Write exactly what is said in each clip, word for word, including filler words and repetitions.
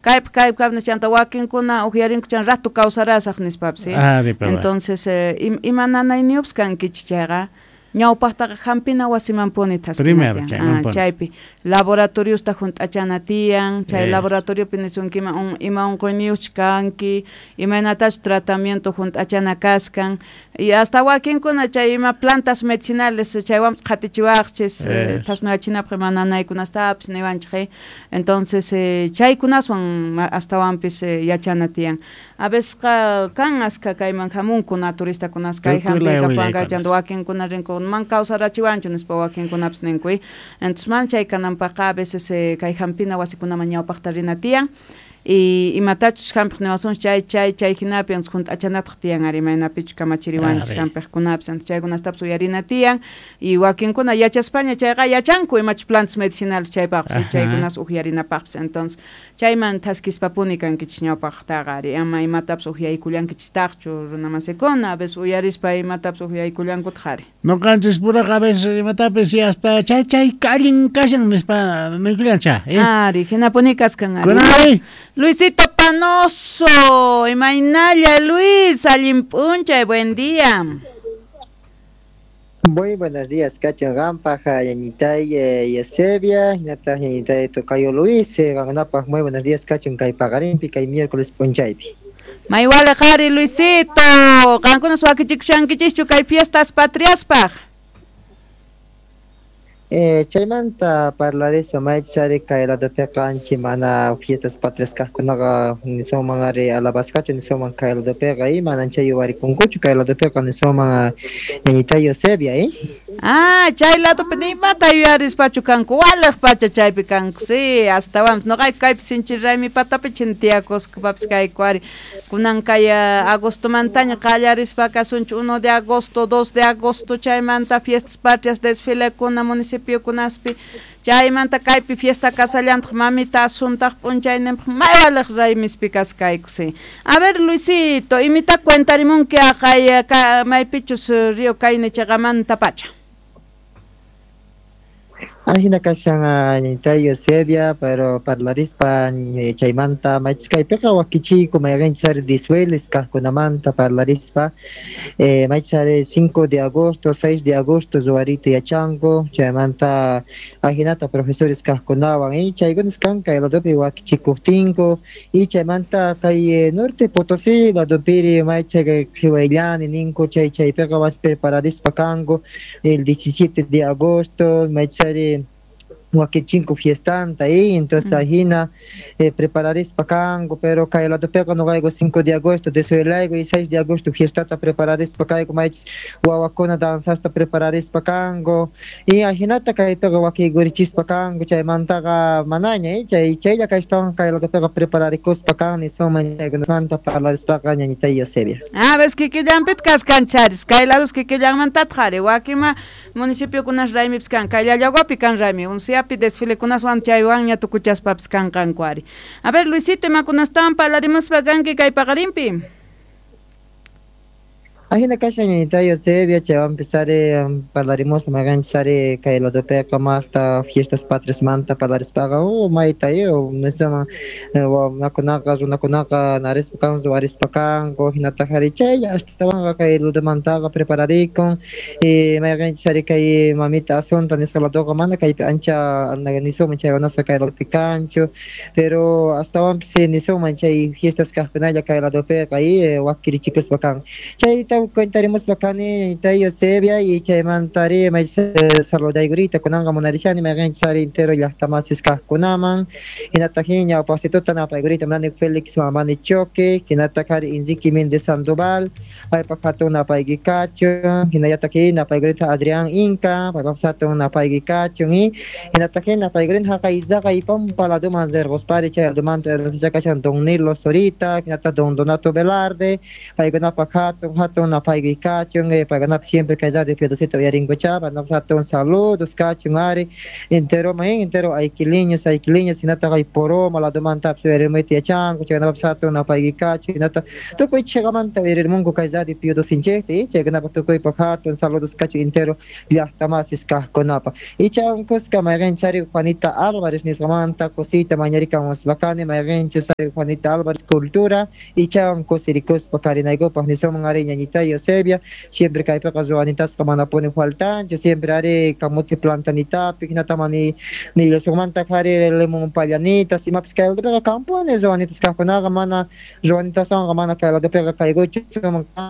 Kaypi kaypi kaypi chanta wakinkuna uqyarinku chan rato kawsarasaq nispapis. Ah, Entonces eh, im, ima nanayniyupas kankichik chayqa ñawpaqtaqa hampina wasimanpuni Primero thaskina ah, chaypi laboratoriosta hunt'achana tiyan chay Eh. laboratoriopi nisunkiman un, ima unquyniyuqchu kanki imaynatachu tratamiento hunt'achana kaskan y hasta wakinkuna chay ima plantas medicinales chaywanpas qhatichiwaqchis eh, Es. thasnuyachinapaq ima nanaykunastapis niwanchik eh. Entonces eh, chaykunaswan ma- astawanpis eh, yachana tiyan a veces qa kan aska kayman hamunku naturistakunas kay Tukuy laya hampiykapanka willaykunas. chanta wakinkuna rinku man kawsarachiwanchu nispa wakinkunapis ninku eh. Entonces man chay kananpaqqa a veces eh, kay hampina wasikunaman ñawpaqta rina tiyan y imatachus hampiq niwasunchik chay chay chay hinapi entonces hunt'achanataq tiyan ari imaynapichu kamachiriwanchik Ari. hampiqkunapis entonces chaykunastapis uyarina tiyan y wakinkuna yachaspaña chayqa yachanku imachus plantas medicinales chaypaqpis Ajá. chaykunas uqyarinapaqpis entonces chayman thaskispapuni kankichik ñawpaqtaqa ari ama imatapis uqyaykullankichistaqchu runamasikuna a veces uyarispa imatapis uqyaykullankutaq ari Noqanchis puraqa a veces imatapis y hasta chay chay allin kashan nispa niykullancha. Eh? Ari hinapuni kaskan ari Kunari. Luisito Panoso, imaynalla Luis, allin p'unchay, buen día. Muy buenos días, Cacho Gampa, Yañitay, eh, Yesebia, Hinata, Yañitay, Tocayo Luis, eh, Ganapa, muy buenos días, Cacho, Kay Pagarimpi, Kay miércoles Ponchaypi. Maywale qhari Luisito, qankuna wakichikushankichischu kay fiestas patriaspaq. Eh, chaymanta parlarispa maychari kay ladopiqa ancha mana fiestas patrias kaqkunaqa nisunman ari alabasqachu nisunman kay ladopiqa y mana chay yuwarikunkuchu kay ladopiqa nisunman Yañitay Eusebia, eh. Ah, chay ladopi ni imata yuyarispachu kanku, waliq pacha chaypi kanku, sí, astawanpis nuqayku kaypi sinchi raymi patapi chin tiyakuspapis kayku ari. Kunan kay agostomantaña qallarispa kasunchik uno de agosto, dos de agosto chaymanta fiestas patrias desfilekuna municipiokunaspi chaymanta kaypi fiesta kasallantaq mamita Asuntaq p'unchayninpaq may waliq raymispi kaskayku, sí. A ver, Luisito, imita cuentarimunki aqay ka, maypichus río Kayne chaqamanta pacha. Ajina kashan Yañitay Eusebia, pero parlarispa chaymanta maychis kaypiqa wakichiyku mayqinchis ari desfiles kaqkunamanta parlarispa eh, maychis ari cinco de agosto, seis de agosto ruwariyta yachanku chaymanta ajinata profesores kaqkunawan y chaykunas kan kay ladopi wakichikuqtinku y chaymanta kay norte Potosí ladopiri maychis qhiwayllani ninku chay chaypiqa mas prepararispa kanku el diecisiete de agosto maychis ari wakichinku fiestanta y entonces Mm. ajina eh, prepararispa kanku pero kay ladopiqa nuqayku cinco de agosto desfilayku y seis de agosto fiestata prepararispa kayku maychis wawakuna danzasta prepararispa kanku y ajinata kaypiqa wakikurichispa kanku chaymantaqa manaña eh, chay chaylla kaytawan kay ladopiqa prepararikuspa kan nisunman chaykunamanta parlarispaqa ñañitay Eusebia. Ah, ves kikillanpit kaskancharis, kay lados kikillanmantataq ari, wakima municipiokunas raymipis kan, kay Llallaguapi kan raymi, unsiapi desfilekunaswan chaywanña tukuchaspapis kanqanku ari. A ver, Luisito, imakunastawan parlarimuspa kanki kay paqarinpi. Ajina kashan ñañitay Eusebia, chaywanpis ari parlarimuspa mayqanchis ari kay ladopiqa maqta fiestas patriasmanta parlarispaqa oh mayta eh nisunman wawnakunaqa runakunaqa narispa kan ruwarispa kanku hinataq ari chaylla astawanqa kay ladomantaqa prepararikun y mayqanchis ari kay mamita Asunta nisqa ladoqa mana kaypi ancha nisunman chaykunasqa kay ladopi kanchu pero astawanpis nisunman chay fiestas kaqkunalla kay ladopiqa y wakirichikuspa kan chayta cuentarimuspa kani ñañitay Eusebia y chaymanta ari maychis saludaykurita kunanqa munarishani mayqanchis ari entero llaqtamasis kaqkunaman hinataq ñawpaqsituta napaykurita munani Félix Mamani Choque hinataq ari Enrique Méndez Sandoval paypaq hatun napayki kachun hinallataq napaykurita Adrián Inca paypaq hatun napayki kachun y hinataq napaykurita haqay zaqay pampa laduman rirquspari chay ladumanta kashan Don Nilo Zorita hinataq Don Donato Velarde paykunapaq hatun hatun hatun napaykuy kachun paykunapi siempre kay radio Pío doceta uyarinkuchapa hatun saludos kachun ari entero main entero aykiliños aykiliños hinataq ay poroma ladomantapis uyarimuyta yachanku chaykunapapis hatun napaykuy kachun hinata tukuy chiqamanta uyaririmunku kay radio Pío docenchikta chaykunapaq tukuypaq hatun saludos kachun entero llaqtamasis kaqkunapaq ichankusqa mayqinchari Juanita Álvarez nisqamanta kusiyta mañarikamuspa mayqinchus ari Juanita Álvarez cultura ichan kusirikuspa karinaykupaq nisuman ari ñañita Eusebia siempre kaypiqa ruwanitasqa manapuni faltanchu siempre ari kamuti plantanitapi hinata mani nillasqamanta ari limon pallanitas imapis kay ladopiqa kampuni ruwanitas kaqkunaqa mana ruwanitaswanqa mana kay ladopiqa kaykuchu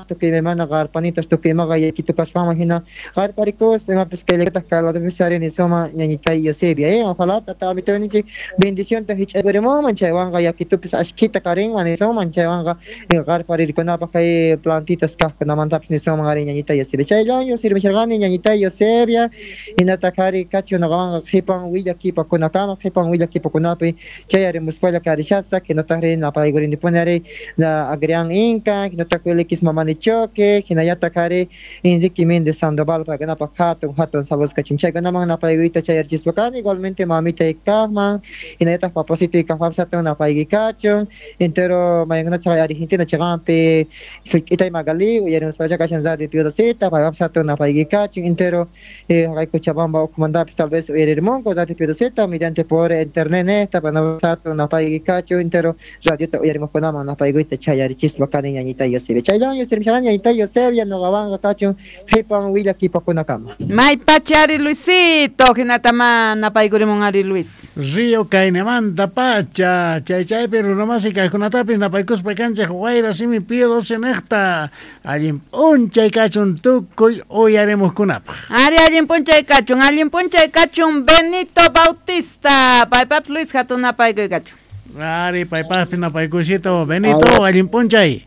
tukuy imaymana qarpanitas tukuy imaqa yakitu kasqanman hina qarparikuspa imapis kayllataq kay ladopis ari nisuman ñañita Eusebia eh ojalá tata amitoyninchik bendicionta hich'aykurimunman chaywanqa yakitupis ashkhita karinman nisuman chaywanqa qarparirkunapaq kay plantitas kaqkunamantapis nisuman ari ñañita Eusebia chayllawan yusirmisharqani ñañita Eusebia hinataq ari kachun nuqawanqa qhipan willakipakunakama qhipan willakipakunapi chay arimuspalla karishasaq hinataq ri napaykurinipuni ari Agrián Inca hinataq Wilikis Mamani Choque hinallataq ari Enrique Méndez Sandoval paykunapaq hatun hatun saludos kachun chaykunaman napaykuyta chayarchispa kani igualmente mamita kaqman hinallataq papasito kaqpapis hatun napaykuy kachun entero maykunachaq Argentina chiqanpi suk'itay Magali uyarimuspacha kashan radio Pío doceta paypapis hatun napaykuy kachun entero haqay Cochabamba ukhumantapis tal vez uyaririmunku radio Pío doceta mediante por internet nesta paypapis hatun napaykuy kachun entero radiota uyarimuqkunaman napaykuyta chayarichispa kani ñañita Eusebia chayllawan yusirmisharqani ñañita Eusebia nuqawanqa kachun qhipan willakipakunakama. Maypacha ari Luisito hinatama napaykurimun ari Luis. Río Kainemanta pacha chay chaypi runamasi kaqkunatapis napaykuspa kanchik wayra simi Pío doce niqta allin p'unchay kachun tukuy uyarimuqkunapaq. Ari allin p'unchay kachun allin p'unchay kachun Benito Bautista paypapis Luis hatun napaykuy kachun. Ari paypapis napaykuysito Benito allin p'unchay.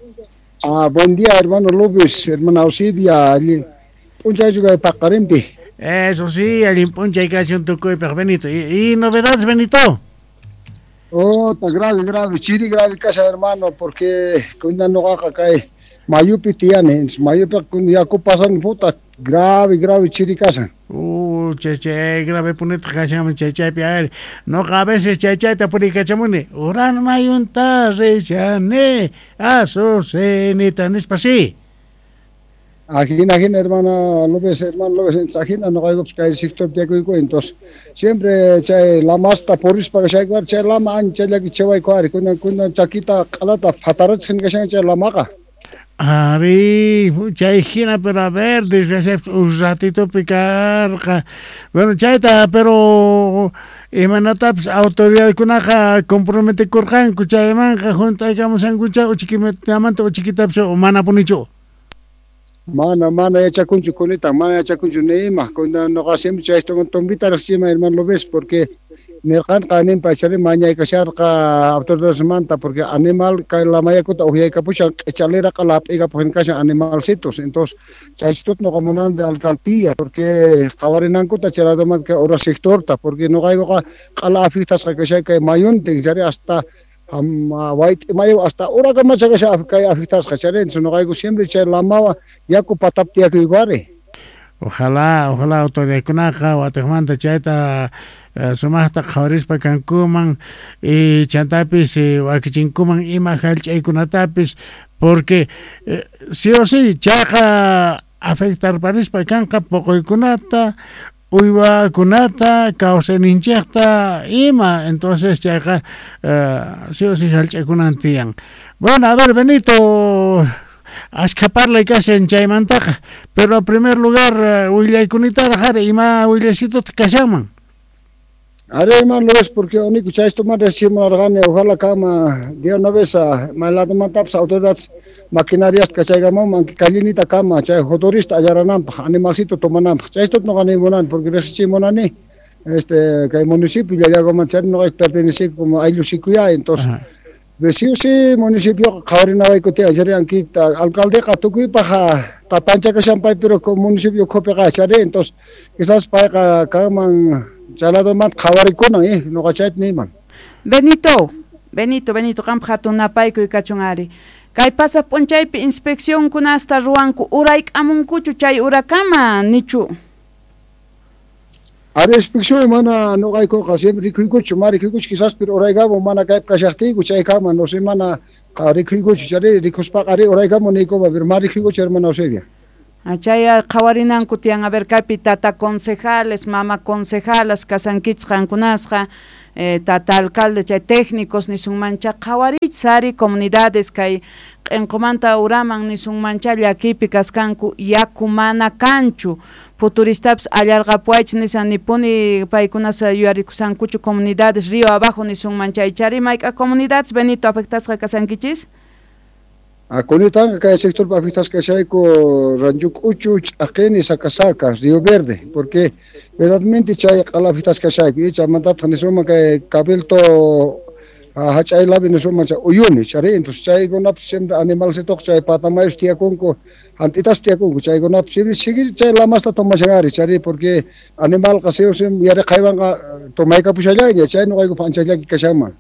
Ah, buen día hermano López, hermana Eusebia, allin p'unchay paqarinpi. Eso sí, allin p'unchay kachun tukuypaq Benito. ¿Y, y novedades, Benito? Oh, está grave, grave, chiri grave casa, hermano, porque cuando no haga cae mayupi tiene, mayupi cuando ya pasan puta, grave, grave chiri casa. Uh, che che, grave punito kacham che che piar. No a veces che che te purikachamuni. Uran mayunta rechane, azucenita nispa sí. Ajina, ajina, hermana López, hermano López, ajina, no hay que el sector de entonces siempre chay lamasta poris para chay cuar chay lama ancha la que chay cuar con con chaquita calata fatarach que chay lamaga. Ari, chay jina, pero a ver, desgraciado, un ratito picar, bueno, chayta, pero imanatapis autoridadkunaqa comprometikurqanku chaymanqa juntaykamushankucha uchikimantamanta uchiquitapis manapunichu. Mana, mana yachakunchu kunita, mana yachakunchu nima, cuando no hacemos esto con tombita recién hermano lo ves porque nirqanqa animpa chari mañaykasharqa autoridades manta porque animal kay lamayakuta uhyaykapuchan q'ichaliraqa lap'ikapuq kashan animalcitos entonces chaychitut nuqa munan de alcaldía porque qhawarinankuta chayladomanta ura sectorta porque nuqaykuqa q'ala afectasqa kashay kay mayuntin chari hasta white mayo hasta urakama chakasha kay afectasqa chari entonces nuqayku siempre chay lamawa yaku patapti yakuykuari. Ojalá, ojalá autoridadkunaqa watiqmanta chayta sumaqta qhawarispa kankuman y chantapis wakichinkuman ima hallch'aykunatapis porque eh, sí o sí chayqa afectarparispa kanqa poqoykunata uywakunata kawsayninchikta ima entonces chayqa eh, sí o sí hallch'aykunan tiyan. Bueno, a ver Benito, ashkha parlay kashan chaymantaqa, pero en primer lugar willaykunitara jari ima willasituta kashanman. Are hermano López, porque único chaysto más recién ojalá kama de una vez a maladomataps autoridades maquinarias kachaygaman kallinita kama chay jotorista allarananpaq animalcito tomananpaq chaysto no gané porque recién este kay municipio llallagoman chay no pertenece como ayllushikuya entonces sí sí municipio qhawarinawaykuti ayer ankita alcaldeqa tukuypaq tatancha kashanpay pero municipio ukhupiqa chari entonces quizás payqa kanman chaladoman qhawarikunan eh nuqa chayta niyman. Benito, Benito, Benito, qanpaq hatun napaykuy kachun ari. Kay pasaq p'unchaypi inspeccionkunasta ruwanku urayk'amunkuchu chay urakama nichu. Ari inspección mana noqaykuqa siempre rikuykuchu, ma rikuykuchu quizás pero uraykamu mana kaypi kashaqtiyku chaykama no sé mana rikuykuchu chari rikuspaqa ari uraykamu niykuma pero ma rikuykuchu hermana Eusebia. Chay qhawarinanku tiyan a ver kaypi tata concejales, mama concejalas kasankichis qankunasqa eh, tata alcalde chay técnicos nisunmancha qhawarich ari comunidades kay q'inqumanta uraman nisunmancha llakipi kaskanku yaku mana kanchu futuristapis allarqapuwaychis nisan nipuni paykunas yuyarikusankuchu comunidades río abajo nisunman chay chari mayk'a comunidades Benito afectasqa kasankichis. Kunitanqa kay sectorpi afectasqa kashayku Rancho K'uchu, Ch'aqini, Sacasacas, Río Verde, porque verdaderamente chay q'ala afectasqa kashayku y chaymantataq nisunman kay Cabildo hach'aylapi nisunman chay Uyuni chari, entonces chaykunapis siempre animalcitoq chay patamayus tiyakunku hant'itas tiyakunku chaykunapis siempre sigui chay lamasta tomashan ari chari, porque animalqa sí o sí yaraqaywanqa tomaykapushallayña chay noqaykupa ancha llaki kashanman.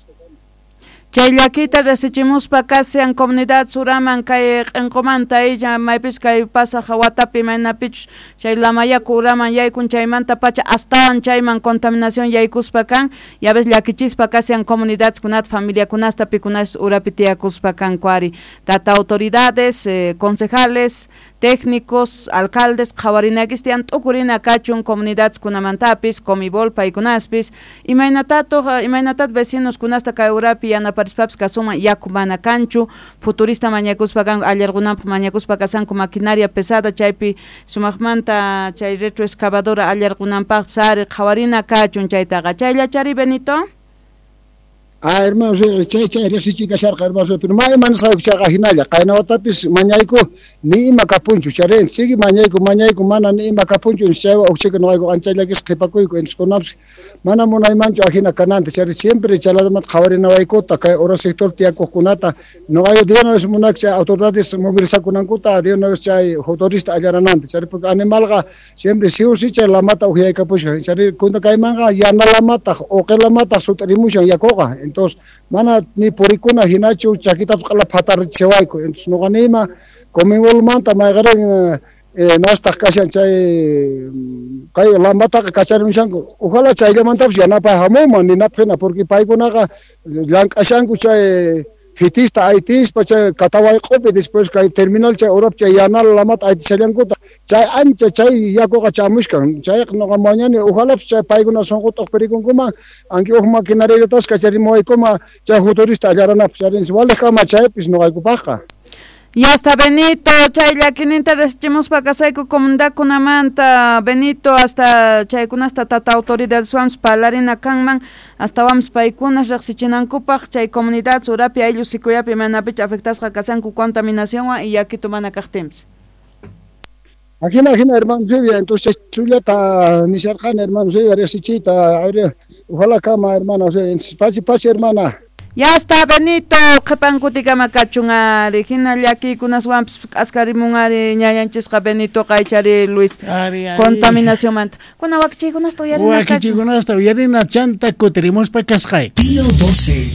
Chay llakita resichimuspa kasian comunidad suraman kay q'inqumanta illa maypis kay pasaq watapi maynapichus chay lamayaku uraman yaykun chaymanta pacha astawan chayman contaminación yaykuspa kan ya ves llakichispa kasian comunidades kunata familiakunasta pikunas urapi tiyakuspa kanku ari tata autoridades eh, concejales técnicos, alcaldes, qhawarinakis tiyan t'ukurina kachun comunidades kunamantapis, comibol paykunaspis, imaynatatuq imaynatat vecinos kunasta kay urapi yanaparispapis kasuman yaku mana kanchu, futurista mañakuspa kanku allarqunanpaq mañakuspa kasanku maquinaria pesada chaypi sumaqmanta chay retroexcavadora allarqunanpaqpis ari qhawarina kachun chaytaqa chayllachari Benito. Ah, hermano, chay chay riqsichiy kasharqa hermano, pero ma imanasqayku chayqa hinalla qaynawatapis mañayku ni ima kapunchu chari, sigue mañayku mañayku mana ni ima kapunchu chaywan ukchika noqayku ancha llakisqa qhipakuyku entonces kunapis mana munaymanchu ajina kananta chari siempre chaladamanta qhawarinawaykuta kay ura sector tiyakuqkunata noqayku de una vez munak chay autoridades movilizakunankuta de una vez chay motorista allarananta chari, porque animalqa siempre sí o sí chay lamata uqyaykapushan chari kunta kaymanqa yana lamataq uqi lamataq sut'irimushan yakuqa. Entonces, mana ni purikuna hinachu chakitapas q'ala phatarichiwayku. Entonces, noqa nima comimolmanta mayqarin eh, nastaq kashan chay kay lamataqa kacharimushanku. Ojalá chayllamantapas yanapay hamunman ninapaq hina porque paykunaqa llank'ashanku chay fitista aytispa chay Katawayq'upi después kay terminal chay urapi chay yanal lamata aytishallankuta chay ancha chay yakuqa chamushkan chayqa noqa mañani ojalá chay paykuna sunquta uqpirikunkuman anki uq maquinariallatas kacharimuwaykuma chay futurista allaranapaq charinchis waliqkama chaypis noqaykupaqqa. Ya hasta Benito, chay llakininta resichimuspa kasayku comunidadkunamanta Benito hasta chaykunasta tata autoridades wams parlarina kanman hasta wams paykunas riqsichinankupaq chay comunidad surapi ayllu sikuyapi manapich afectasqa kasanku contaminacionwan y yakitu mana kaqtinpis. Ajina ajina hermano Silvia, entonces chullata nisharqani hermano Silvia riqsichiyta ojalá kama hermano Silvia, pachi pachi hermana. Ya está Benito, qhipankutikama kachun ari, hina llakiykunaswanpis k'askarimun ari ñañanchisqa Benito qaychari Luis contaminacionmanta. Kuna wakichiykunasta uyarina kachun. Wakichiykunasta uyarina chanta kutirimuspa kasqay. Pío doce.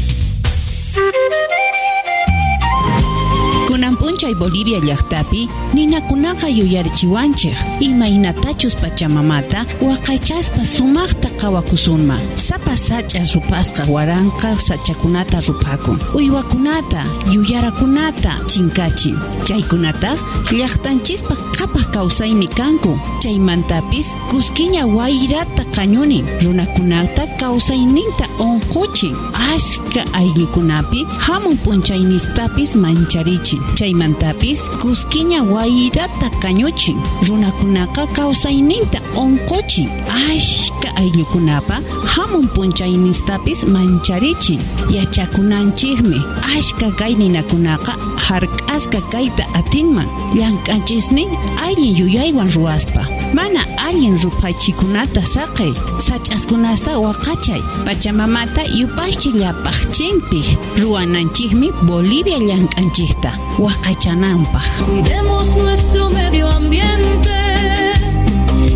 Kunan p'unchay Bolivia llaqtapi ninakunaqa yuyarichiwanchik imaynatachus pachamamata waqaychaspa sumaqta qhawakusunman. Sapa sach'a rupasqa waranqa sachakunata ruphakun, uywakunata yuyarakunata chinkachin. Chaykunataq llaqtanchispa qhapaq kawsaymi kanku. Chaymantapis kuskiña wayrata qañunin, runakunata kawsayninta unquchin, ashka ayllukunapi hamun p'unchaynistapis mancharichin. Chaymantapis kuskiña wayrata kañuchin, runakunaqa kawsayninta unquchin, ashka ayllukunapa hamun p'unchaynistapis mancharichin. Yachakunanchikmi ashka kay ninakunaqa hark'asqa kayta atinman llank'anchisnin allin yuyaywan ruwaspa. Mana allin ruphachikunata saqey, sach'askunasta waqachay, pachamamata yupaychi llapaqchinpi ruwananchikmi Bolivia llank'anchikta waqachananpaq. Cuidemos nuestro medio ambiente,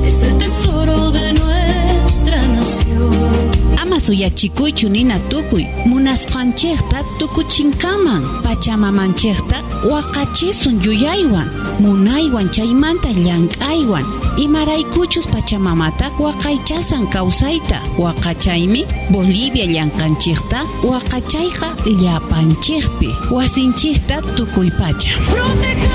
es el tesoro de nuestra nación. Ama Suyachikuychu nina tukuy munasqanchikta tukuchinkaman pachamamanchikta waqachisun yuyaywan munaywan chaymanta llank'aywan imaraykuchus pachamamata waqaychasan kawsayta waqachaymi Bolivia llanqanchikta waqachayqa llapanchikpi wasinchikta tukuy pacha. Protejamos